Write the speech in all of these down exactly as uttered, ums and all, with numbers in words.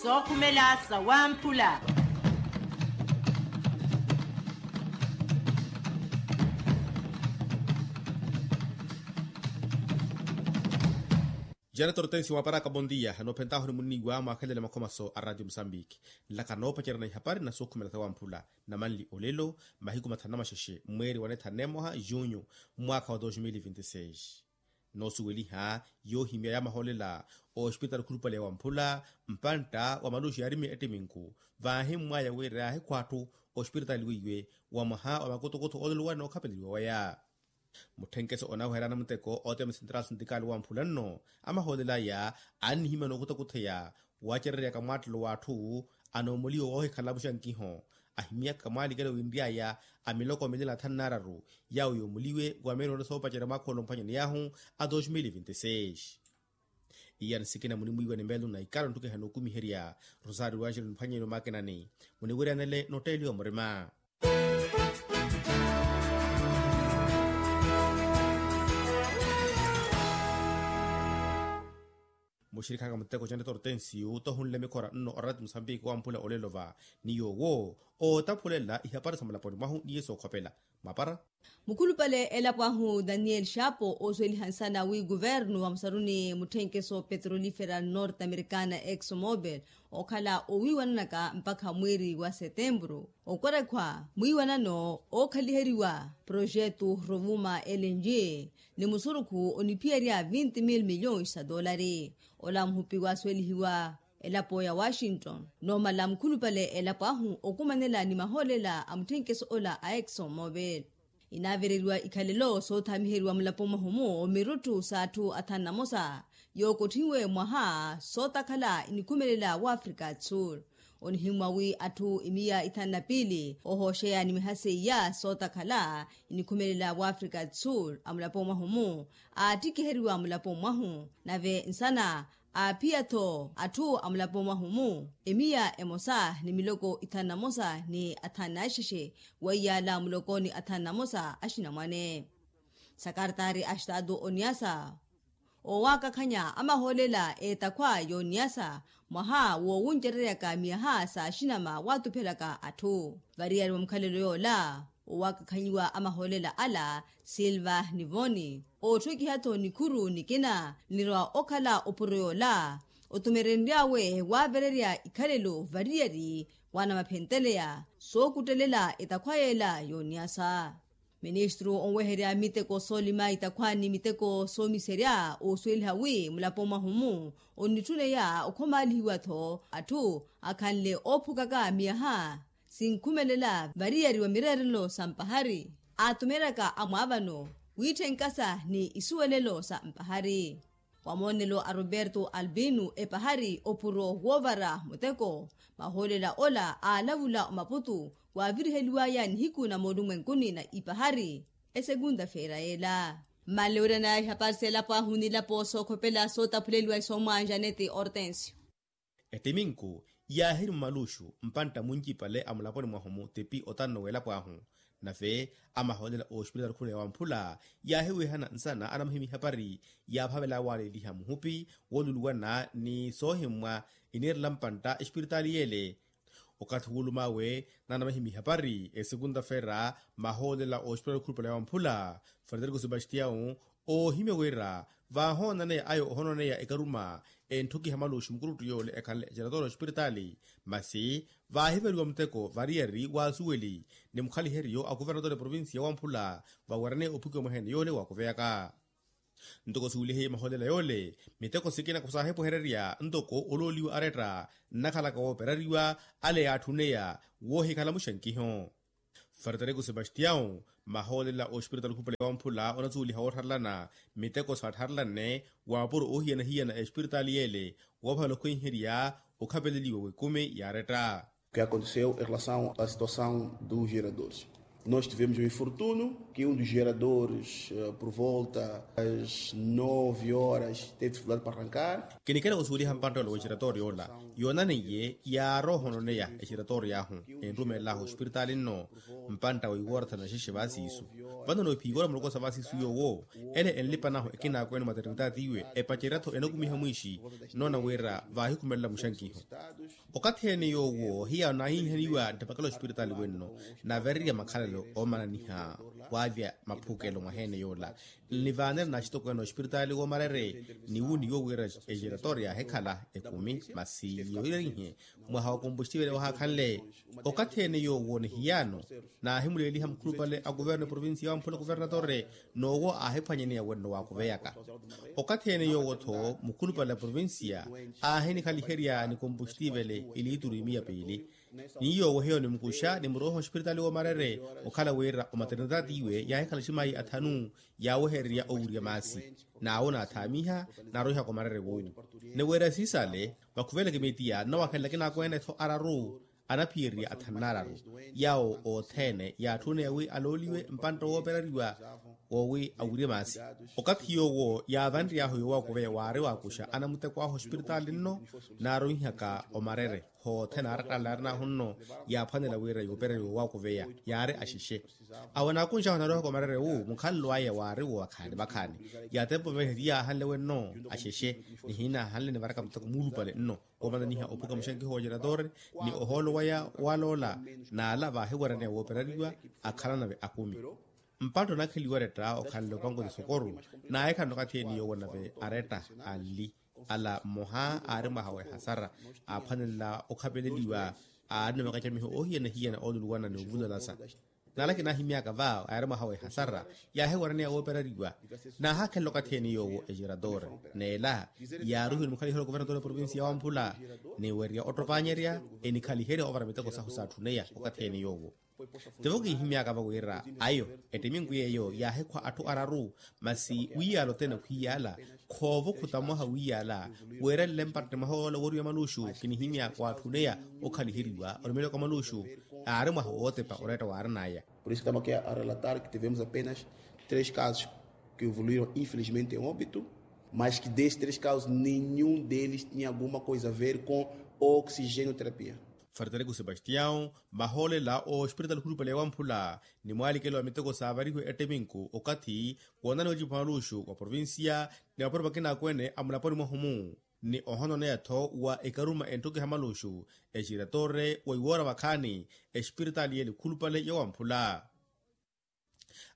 Sookhumela sawamphula. Jana tortensi waparaka bondia noophentaho ni munniwa mwaakhelele makhomaso a ratio musambiki. Nlaka noopacerana ihapari na sookhumela sawamphula. Na manli olelo mahiku mathanu na maxexe mweeri wa neetha neemoha junyu, mwaakha wa dos mil vinti seis. Noosuweliha yoohimya ya mahoolela ospitaali khulupale wamphula mpantta wa maluxi yaarimiya ettiminku. Vaahimmwaya wira yaahikhwa atthu ospitaali weiwe wa mwaha wa makutokutho oololuwa nookhapeleliwa waya. Mutthenkeso onaweherya anamuteko ootema central sindikaali wamphula nno, amahoolelaya annihimya nookutakutheya wacereryaka mwaattelo w'atthu anoomoliwa woohikhala muxankiho. Ahimyaka mwaalikelo winry'aya a miloko milala thanu n'araru yaawo yoomoliwe wa meeroni soopacerya mwaakha ole omphwanyani yaahu a dos mil vinti seis. Iya ni sikina munimwiiwa ni meelo na ikalo nttukiha nookumiherya. Rosario w'axilo nimphwanyeni omaakinani muniwiryanele notteeliwa murima. Muxirikhaka muteko jane tortensiyu tohunle mikhora nno orati musambiki wamphula olelo va ni yoowo ootaphulela ihapari sa mulaponi mwahu niye sookhopela. Mapara. Mukhulupale elapo ahu daniel xapo oosuweliha nsana wi kuvernu wa musaruni mutthenkeso petrolifera norte americana exomobile ookhala owiiwananaka mpakha mweeri wa setempuru. Okwerekhwa mwiiwanano ookhaliheriwa projetu rovuma lng ni musurukhu oniphiyerya vinti mil milhões sa toolari. Ola muhupi waasuwelihiwa elapo ya washington noomala mukhulupale elapo ahu okumanela ni mahoolela a mutthenkeso ola a exomobile. Inaavereriwa ikhalelo soothamiheriwa mulapo mwahu-mu mirutthu s'atthu athanu na mosa yookotthiwe mwaha sootakhala inikhumelela w'afrika tsur. Onihimmwa wi atthu imiya ithanu na piili ohooxeya ni miha seiya sootakhala inikhumelela w'afrika tsur a mulapo mwahu-mu aattikiheriwa mulapo mwahu nave nsana aaphiya-tho atthu a mulapo mwahu-mu emiya emosa ni miloko ithanu na mosa ni athanu na axexe weiyaala muloko ni athanu na mosa axinamwane. Sakartaari a estatu oniyasa oowakakhanya amahoolela eetakhwa yooniyasa mwaha woowuncereryaka miyaha s'axinama waatuphelaka atthu variyari wa mukhalelo yoola. Oowakakhanyiwa amahoolela ala silva ni voni ootthukiha-tho nikhuru nikina nirwa okhala opuro yoola otumerenry'awe waavererya ikhalelo variyari waanamaphentteleya sookuttelela etakhwa yeela yooniyasa. Ministru onweherya miteko soolima itakhwa ni miteko soomiserya oosuweliha wi mulapo mwahu-mu onnitthuneya okhomaalihiwa-tho atthu akhanle oophukaka miyaha sinkhumelela variyari wa mireerelo sa mpahari aatumeryaka amwaavano wiitthenka sa ni isuwelelo sa mpahari. Wa moonelo a roberto albino epahari opuro woovara muteko mahoolela ola aalavula omaputu waaviriheliwaya nihiku na moolumwenkuni na ipahari esekunda feera yeela. Mmanle wiranaya ihapari s'elapo ahu n'ilapo sookhopela sootaphuleliwa isoomwa janeti ortensio. Ettiminku yaahiri mumaluxu mpantta muncipale a mulaponi mwahu-mu tipi otanno w'elapo ahu. Nave amahoolela oosipilitali khula ya wamphula yaahiwihana nsana anamahimya ihapari yaaphavela waaleeliha muhupi wooluluwana ni soohimmwa iniirela mpantta esipilitali yeele. Okathi wuulum'awe nanamahimya ihapari esekunta feera mahoolela oosipilitali khulupale ya wamphula frederico sebastião oohimya wira vaahoonaneya ayo ohoonaneya ekaruma entthukiha maluxu mukuruttu yoole ekhanle ejaratoro espiritaali. Masi vaahiveriwa muteko variyari w'asuweli ni mukhaliheryo a kuvernatoro eprovincia wamphula vawerene ophukiwa mwaheene yoole waakuveyaka. Ntoko suweliheiye mahoolela yoole miteko sikina khusaahipuhererya ntoko olooliwa aretta nnakhalaka wooperariwa ale yaatthuneya woohikhala muxankiho. Frederico sebastião mahoolela ospiritaali khupale wamphula onasuweliha woottharelana miteko saattharelanne waapuro oohiyana-hiyana espiritaali yeele woophavela okhwenherya okhapeleliwa w'ekumi yaaretta. Que aconteceu em relação à situação dos geradores. Nós tivemos um infortúnio que um dos geradores, por volta das nove horas, teve dificuldade para arrancar. Kinikela osuweliha mpanttolo wa exeratório ola yoonaneiye yaarohononeya exeratório ahu enrumeelahu ospiritaali nno. Mpantta wa iwoortha na xexe vaasiisu vano noophiiwora mulokosa vaasiisu yoowo ele enlipanahu ekinaakweene maternitaati iwe epacerya-tho enakumiha mwiixi. Nnoona wira vaahikhumelela muxankiho okathi ene yoowo hiya naahihihaniwa nttapakela ospiritaali wenno naverereya makhalelo oomananiha waavya maphukelo mwaheene yoola nlivaanela na axitokweene ospiritaali woomarere. Ni wu ni yoowo wira exeratoria yaahikhala ekumi masi yoorihe mwaha wa kompostivele wahaakhanle okathi ene yoowo ni hiyaano naahimuleeliha mukhulupale a kuverno eprovincia ya wamphula kuvernatore. Noowo aahiphwanyaneya wenno waakuveyaka okathi ene yoowo-tho mukhulupale a provincia aahinikhaliherya ni kompostivele iliituru imiya piili. Ni yoowo hiyo nimukuxa nimuroiha ospiritaali woomarere okhala wira omaternitaati iwe yaahikhala aximayi athanu yaawehererya owurya maasi. Naawo naathaamiha naaroihaka omarere woowu ni wira siisale vakhuveleke miitiya nnawakhenleke naakweene-tho araru anaphiyererya athanu naararu. Yawo othene yaatthunneya wi alooliwe mpantta woopereriwa woowi awirye maasi okathi yoowo yaavanry'ahu yoowakuveya waari waakuxa anamuteko ahu ospiritaali nno naaroihaka omarere. Hothene aarattalala yaarin'ahu nno yaaphwanela wira yoopereriwa yoowakuveya yaari axexe. Awo anaakunx'ahu anaaroihaka omarere wu mukhalelo aya waari wo vakhaani vakhaani yaatempo vehe ti yaahanle wenno axexe ni hiinaahanle nivaraka muteko muulupale nno. Omananiha ophuka muxankiho wa geradore ni ohoolo waya waloola naala vaahiwaraneya woopereriwa akhalanave akumi. Mpantta onaakheliwa oretta okhanle opanko ti sokoru naahikhala okathi eni yoowo nave aretta anli ala mmoha aari mwaha wa ehasara aaphwanelela okhapeleliwa aari ni makacamiho oohiyana-hiyana ooluluwana ni ovulalasa. Naalaki naahimyaka va yaari mwaha wa ehasara yaahiwaraneya woopereriwa. Naahaakhelela okathi ene yoowo egerador neela yaaruhiwe ni mukhaliherya wa kuvernatore wa provincia ya wamphula ni werya ottopaanyerya enikhaliherya ovara miteko sahu saatthuneya okathi ene yoowo. Tivo kiihimyaka va wira ayo ettiminku yeeyo yaahikhwa atthu araru masi wiiyaala othene okhwiiyaala. Khoovo khuta mwaha wiiyaala weerelele mpatte mwaha ola wooriwa maluxu kinihimya waatthuneya okhaliheriwa orumelewaka maluxu. Aari mwaha wootepa oretta waarin'aya. Por isso que estamos aqui a relatar que tivemos apenas três casos que evoluíram infelizmente em óbito, mas que desses três casos nenhum deles tinha alguma coisa a ver com oxigenoterapia. Faritareku sebastião mahoolela ospiritaali khulupale ya wamphula ni mwaalikelo wa miteko saavarihiwe etteminku okathi woonaniwa ocipa maluxu wa provincia ni mapuro makina akweene a mulaponi mwahu-mu ni ohononeya-tho wa ekaruma enttukiha maluxu exeratore wa iwoora vakhaani espiritaali yeele khulupale ya wamphula.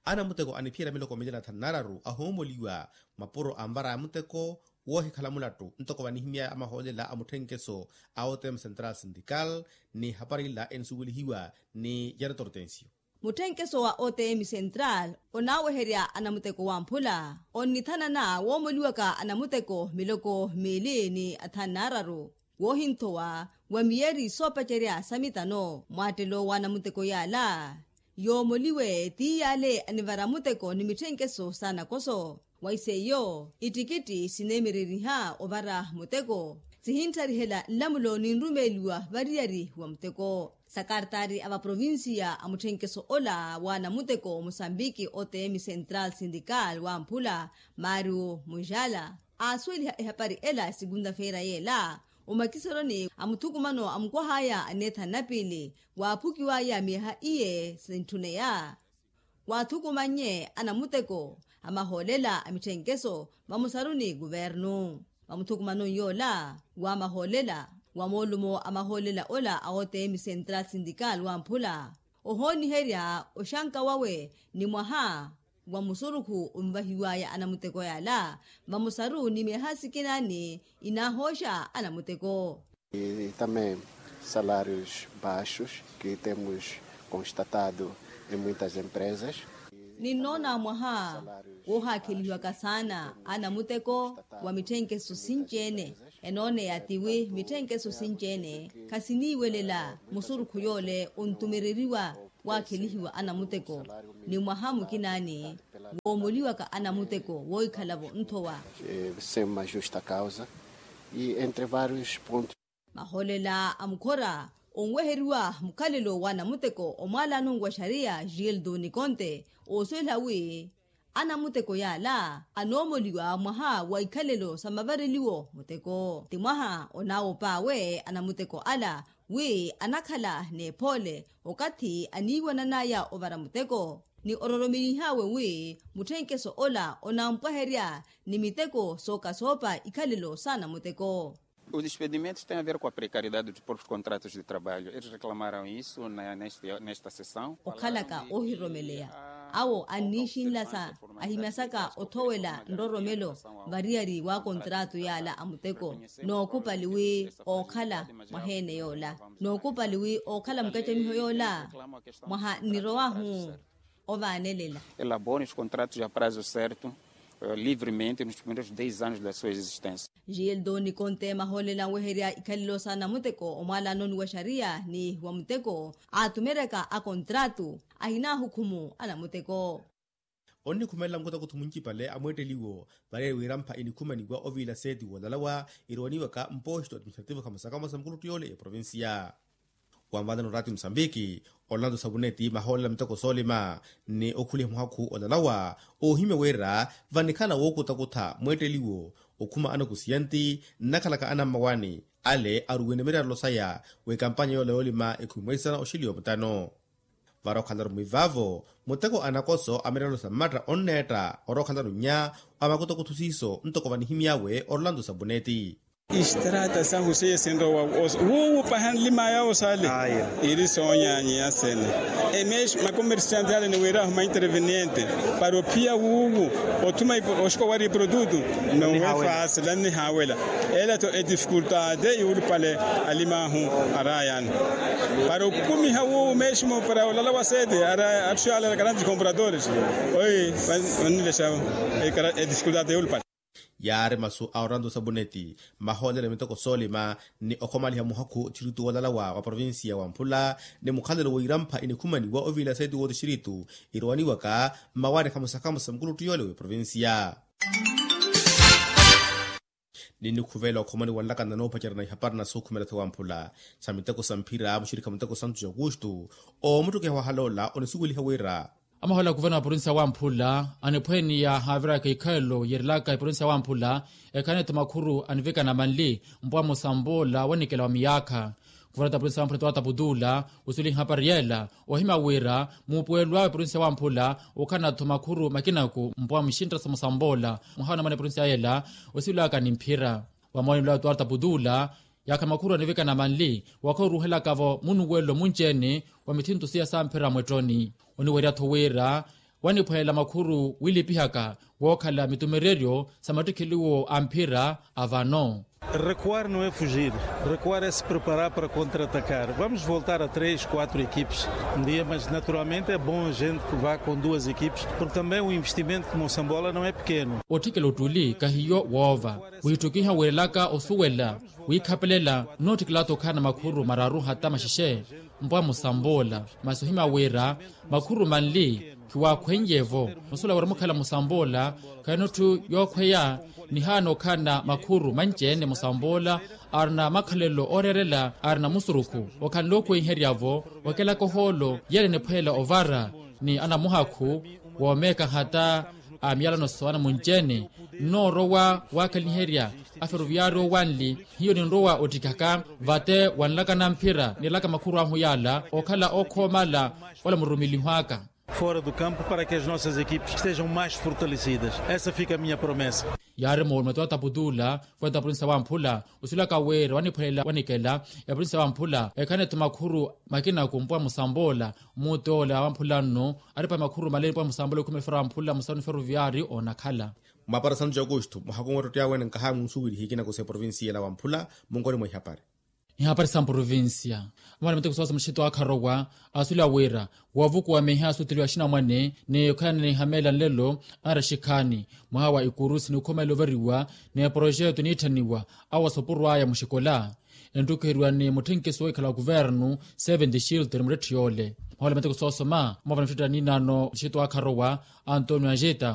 Anamuteko aniphiyerya miloko mili na thanu naararu ahoomoliwa mapuro anvara a muteko woohikhala mulattu ntoko vanihimyaya amahoolela a mutthenkeso a otm central sindical ni hapari ila enisuwelihiwa ni jaretortensio. Mutthenkeso wa otm central onaaweherya anamuteko wamphula onnithanana woomoliwaka anamuteko miloko miili ni athanu naararu woohinthowa wa miyeri soopacerya sa mitano mwaattelo w'anamuteko yaala yoomoliwe ti yaale anivara muteko ni mitthenkeso s'anakoso. Wa iseiyo ittikitti sineemereriha ovara muteko sihinttarihela nlamulo ninrumeeliwa variyari wa muteko. Sakartaari a vaprovincia a mutthenkeso ola w'anamuteko musambiki otm central sindical wamphula mario mujala aasuweliha ehapari ela esegunta-feira yeela omakiseroni a muthukumano a mukwah'aya aneethanu na piili waaphukiw'aya myeha iye sintthuneya. Waathukumannye anamuteko a mahoolela a mitthenkeso vamusaruni kuvernu vamuthukumanoni yoola wa mahoolela wa moolumo a mahoolela ola a otm central sindical wamphula ohooniherya oxanka wawe ni mwaha wa musurukhu onvahiw'aya anamuteko yaala vamusaru ni myeha sikinaani inaahooxa anamuteko. E também salários baixos que temos constatado em muitas empresas. Ninnoona mwaha woohaakhelihiwaka saana anamuteko wa mitthenkeso sinci-ene. Enooneya tiwi mitthenkeso sinci-ene khasiniiwelela musurukhu yoole ontumereriwa waakhelihiwa anamuteko ni mwaha mukinaani woomoliwaka anamuteko woohikhala-vo nthowa. Sem uma justa causa e entre vários pontos. Mahoolela a mukhora Onweheriwa mukhalelo wa namuteko omwaalano wa xariya gildo nikonte, oosuwela wi anamuteko yaala anoomoliwa mwaha wa ikhalelo sa mavareliwo muteko ti mwaha onaawop'awe anamuteko ala wi anakhala n'ephoole okathi aniiwanan'aya ovara muteko ni ororomelih'awe wi mutthenkeso ola onampwaherya ni miteko sookasoopa ikhalelo s'anamuteko. Os despedimentos tem a ver com a precariedade dos próprios contratos de trabalho eles reclamaram isso nesta sessão. Okhalaka oohiroromeleya awo anniixinlasa ahimasaka othowela nroromelo variyari wa kontrato yaala a muteko. Nookupali wi ookhala mwaheene yoola nookupali wi ookhala mukacamiho yoola mwaha nnirowahu ovaanelela. Elaboram os contratos a prazo certo livremente nos primeiros dez anos da sua existência. Gildo nikonte mahoolela anweherya ikhalelo sa namuteko omwaalanoni wa xariya ni wa muteko aatumeryaka akontrato ahinaahukumu anamuteko. Onnikhumelela mukutokutho muncipale a mweetteliwo variyari wirampha inikhumaniwa oviila seeti woolalawa irowaniwaka mposto administrativo khamosa khamosa mukuluttu yoole eprovincia. Wanvaanela oraati musambiki, orlando sabuneti mahoolela miteko soolima ni okhuliha muhakhu olalawa oohimya wira vanikhala wookutakutha mweetteliwo okhuma anokusiyanti nnakhalaka anammawaani ale aruwene miryarelo saya w'ekampanya yoola yoolima ekhumi mweisana oxiliwa mutano. Varookhalelaru mwivaavo muteko anakoso a miryarelo sa mmatta onneetta orookhalelaru nnya wa makutakutho siiso ntoko vanihimy'awe orlando sabuneti. Istrata sahu seiya sinrowa wuuwu paha nlimaya osale iri soonyanyiya sene. Emexi makomersiante ale ni wira ahuma interveniente para ophiya wuuwu othuma oxiko wari iprodutu. Nowe fasi lannihaawela ela to edifikultade iwulupale alimahu arayani para okumiha wuuwu meximo para olala wa sete ara atthu ale ara karanti compradores. Oyi vannilexa edifikultade iwulupale. Yaari masu a orlando sabuneti mahoolela miteko soolima ni okhomaliha muhakhu tixiritu woolalawa wa provincia wa mphula ni mukhalelo w'irampha inikhumaniwa oviila seeti wooxixiritu irowaniwaka mmawaani khamosa khamosa mukuluttu yoole w'eprovincia. Ninnikhuvela okhomaniwa nlakana noopacerya na ihapari na sookhumela tho wa mphula sa miteko sa mphira muxirikha muteko santu ja aukustu oomuttukiha wahaloola onisuweliha wira. Amahoolela kuvana wa provincia wa mphula aniphweeniya haaviraka ikhalelo yeerelaka eprovincia wa mphula ekhaneto makhuru anivikana manli mpwa musamboola wanikela wa miyaakha. Kuvana ta provincia wa mphula twaata putula wisuweliha hapari yeela ohimya wira muupuwelo awe provincia wa mphula okhanatho makhuru makinaku mpwa muxintta sa musamboola mwaha onamana eprovincia yeela osiwelaka ni mphira. Vamoonelo awe twaata putula yaakha makhuru anivikana manli wakhoruhelaka-vo munuwelo munci-ene wa mithinto siya samphira mwettoni. Oniwerya-tho wira waniphwelela makhuru wilipihaka wookhala mitumereryo sa mattikheliwo a mphira a vano. Recuar no é fugir. Recuar é se preparar para contra-atacar vamos voltar a três quatro equipes. Ndia mas naturalmente é bom gente que vá com duas equipes porque também o investimento como sambola não é pequeno. Otthikela ottuli kahiyo woova wiitthukiha wiirelaka osuwela wiikhapelela nnootthikela-tho okhala na makhuru mararu hata maxexe. Mpwa musamboola masi ohimya wira makhuru manli khiwaakhweiye-vo. Musuwela wira mukhala musamboola khayinotthu yookhweya nihaana okhala na makhuru manci-ene musamboola arina makhalelo ooreerela arina musurukhu okhanle okhuweiherya-vo okelaka ohoolo yeela eniphwelela ovara ni anamuhakhu woomeeka hata a miyalano sowana munci-ene. Nnoorowa waakhaliherya aferoviyaari owanli hiyo ninrowa ottikaka vate wanlakana mphira nilaka makhuru ahu yaala okhala ookhoomala ola mururumeliho aka fora do campo para que as nossas equipes estejam mais fortalecidas. Essa fica a minha promessa. Yaari moolume twaata putula kwenta provincia wa mphula osilaka wira waniphwelela wanikela ya provincia wa mphula ekhaneto makhuru makinaku mpwa musamboola. Mutoola wa mphula nno aripa makhuru male mpwa musamboola okhumela fera wa mphula musanu feroviyaari onakhala. Mwaparasano ja aukustu mwahaku mwettottiya wene nkahamu nsuwelihi kinaku sa eprovincia ela wa mphula munkoni mwa ihapari. Ihapari sa mprovincia amana miteko soosa muxito akharowa asula wira woovukuwa miha asuteliwa axinamwane ni okhalana ni ihameela nlelo anraxikhaani mwaha wa ikurusi ni okhumelela overiwa ni eporoxeto niitthaniwa awo asopurw'aya muxikola. Enttukheriwa ni mutthenkiso wohikhala wa kuvernu seventy shilter muttetthe yoole. Mwahola miteko soosoma mwaavana muttetta niinaano muxito akharowa antonio anjeta